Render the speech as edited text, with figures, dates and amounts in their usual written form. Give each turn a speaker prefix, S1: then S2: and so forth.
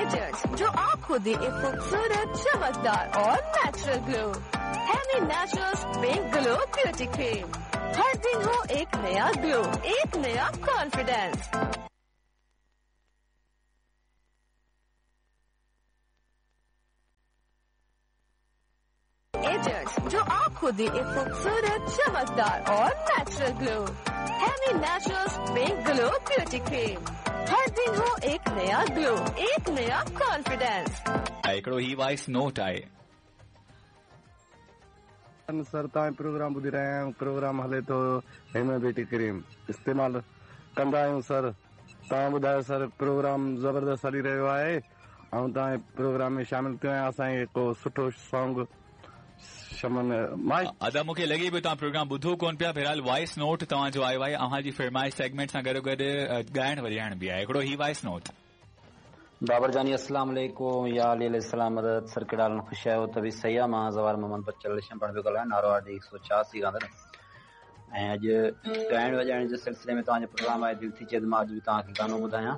S1: Agent जो आपको दे एक खूबसूरत, चमकदार और natural glow. Hemi naturals pink glow beauty cream. हर दिन हो एक नया ग्लो, एक नया कॉन्फिडेंस। एजेंट जो आपको दे एक खूबसूरत, चमकदार और natural glow. Hemi naturals pink glow beauty cream. हर दिन हो एक नया ग्लो, एक नया कॉन्फिडेंस।
S2: ऐं हिकिड़ो ही वॉइस नोट आहे।
S3: सर, तव्हां प्रोग्राम ॿुधी रहिया आहियूं। प्रोग्राम हले थो, हेम ब्यूटी क्रीम इस्तेमालु कंदा आहियूं। सर, तव्हां ॿुधायो सर, प्रोग्राम ज़बरदस्त हली रहियो आहे ऐं तव्हां प्रोग्राम में शामिल थियो आहियाँ। असांखे को सुठो सॉन्ग शमन माई।
S2: अदा, मूंखे लॻे पियो तव्हां प्रोग्राम ॿुधो कोन पिया। फ़िलहाल वॉइस नोट तव्हांजो आयो आहे। अव्हां जी फरमाइश सेगमेंट सां गॾो गॾु ॻाइण वॼाइण बि आहे। हिकिड़ो ही वॉइस नोट।
S4: बाबर जानी, अस्सलाम वालेकुम, या अली अलैहिस्सलाम मदद। सर, कहिड़ा हाल, ख़ुशि आहियो? तबीयत सही आहे? मां ज़वार मोहम्मद बचल शंबण पियो ॻाल्हायां, नारो आर डी 186 खां। ऐं अॼु ॻाइण वॼाइण जे सिलसिले में तव्हांजो प्रोग्राम आहे, दिलि थी चए त मां अॼु बि तव्हांखे गानो ॿुधायां।